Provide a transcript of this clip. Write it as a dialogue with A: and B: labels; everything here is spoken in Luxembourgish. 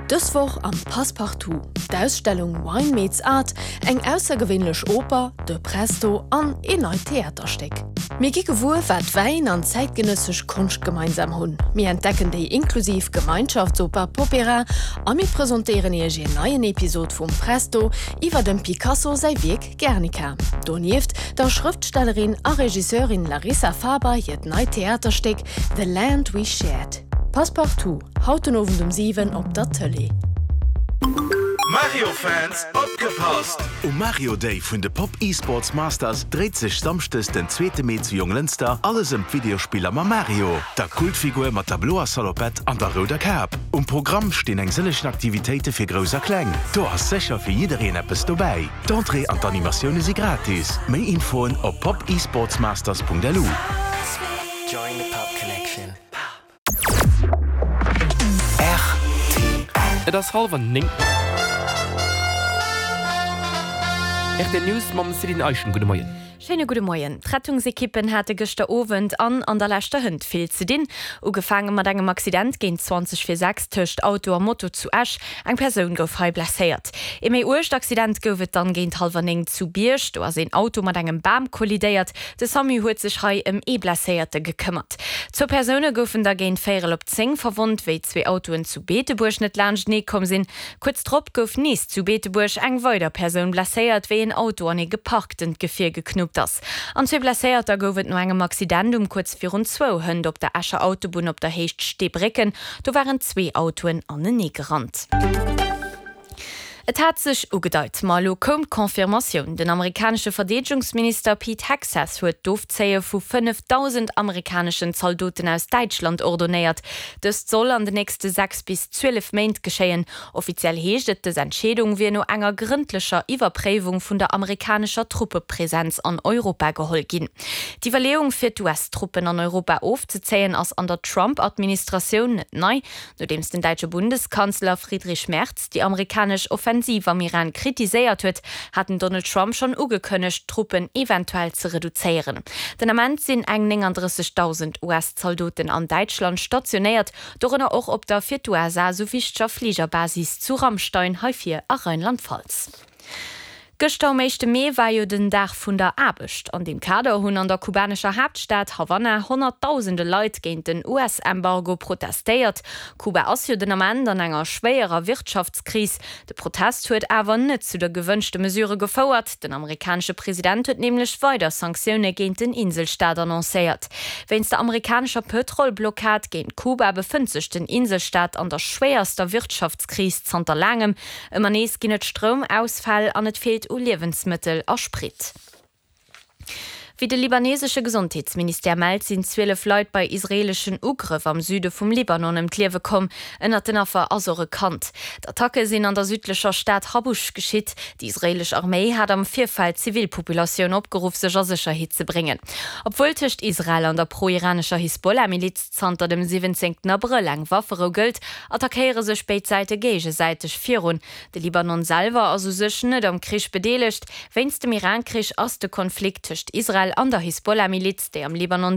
A: Dës Woch am Passepartout, d'Ausstellung Wine Meets Art, eng aussergewéinlech Oper, de Presto an een neit Theaterstéck. Mir gi gewuer, wat Wäin an zäitgenëssesch Konscht gemeinsam hunn, mir entdecken déi inklusiv Gemeinschaftsoper Popera a mir presentéieren Iech een neien Episod vum Presto iwwer dem Picasso säi Wierk Guernica. Donieft der Schrëftstellerin a Regisseurin Larissa Faber hiert neit Theaterstéck The Land We Shared. Passepartout, haut den Owend um 7 op der Tëlee.
B: Mario Fans opgepasst! Um Mario Day vun de Pop Esports Masters dréit sech Samschdes den zweete Mee zu Jonglënster alles ëm d'Videospiller mam Mario, der Kultfigur mat der bloer Salopette an der rouder Kap. Um Programm stinn eng sëllegen Aktivitéite fir Grouss a Kleng. Do ass sécher fir jiddereen eppes dobäi. D'Entrée an d'Animatioune si gratis. Méi Infoen op popesportsmasters.lu.
C: Et ass hallwer 9. Rtl News mam Céline Eischen. Gudde Moien.
D: Schéine gudde Moien. D'Rettungsekippen hate gëschter Owend an an der leschter Hënt vill ze dinn. Ugefaange mat engem Accident géint 20 vir 6 tëscht Auto a Moto zu Esch. Eng Persoun gouf hei blesséiert. Ee méi uergt Accident gouf et dann géint hallwer 9 zu Bierg. Do ass een Auto mat engem Bam kollidéiert. De Samu huet sech hei ëm ee Blesséierte gekëmmert. Zwou Persoune goufen da géint véierel op 10 verwonnt, wéi zwee Autoen zu Beetebuerg net laanschtenee komm sinn. Kuerz drop gouf nees zu Beetebuerg eng weider Persoun blesséiert, wéi een Auto an ee geparktent Gefier geknuppt ass. An zwee Blesséierter gouf et no engem Accident um kuerz virun zwou hënt op der Escher Autobunn op der Héicht Steebrécken. Do waren zwee Autoen anenee gerannt. Et hat sech ugedeit, ma elo koum d'Confirmatioun, Den amerikanesche Verdeedegungsminister Pete Hegseth huet d'Ofzéie vu 5.000 amerikaneschen Zaldoten aus Däitschland ordonéiert. Dëst soll an den nächste 6 bis 12 Méint geschéien. Offiziell heescht et, dës Entscheedung wier no enger grëndlecher Iwwerpréiwung vun der amerikanescher Truppepresenz an Europa geholl ginn. D'Iwwerleeung fir d'US-Truppen an Europa ofzezéien ass an der Trump-Administratioun net nei. Nodeems den däitsche Bundeskanzler Friedrich Merz déi amerikanesch Offensiv am Iran kritiséiert huet, hat den Donald Trump schonn ugekënnegt, d'Truppen eventuell ze reduzéieren. Den Ament sinn eng 39.000 US-Zaldoten an Däitschland stationéiert, dorënner och op der fir d'USA sou wichteger Fligerbasis zu Ramstein, hei vir a Rheinland-Pfalz. Gëschter um éischte Mee war jo den Dag vun der Aarbecht. An deem Kader hunn an der kubanescher Haaptstad Havanna honnertdausende Leit géint den US-Embargo protestéiert. Kuba ass jo den Ament an enger schwéierer Wirtschaftskris. De Protest huet awer net zu der gewënschte Mesure gefouert. Den amerikanesche President huet nämlech weider Sanktioune géint den Inselstaat annoncéiert. Wéinst der amerikanescher Pëtrolblockad géint Kuba befënnt sech den Inselstaat an der schwéierster Wirtschaftskris zanter laangem. Ëmmer nees ginn et Stroumausfäll an et feelt u Liewensmëttel a Sprit. Wéi de libanesesche Gesondheetsministère mellt, sinn 12 Leit bei israeeleschen Ugrëff am Süde vum Libanon ëm d'Liewe komm. Ënnert den Affer ass och e Kand. D'Attacke sinn an der südlecher Stad Habusch geschitt. Déi israeelesch Arméi hat am Virfeld d'Zivilpopulatioun opgeruff, sech a Sécherheet ze bréngen. Obwuel tëscht Israel an der pro-iranescher Hisbollah-Miliz Zanter dem 17 Abrëll eng Wafferou gëllt, attackéiere sech béid Säite géigesäiteg virun. De Libanon selwer ass u sech net am Krich bedeelegt. Wéinst dem Iran-Krich ass de Konflikt tëscht Israel an der Hisbollah-Miliz, déi am Libanon.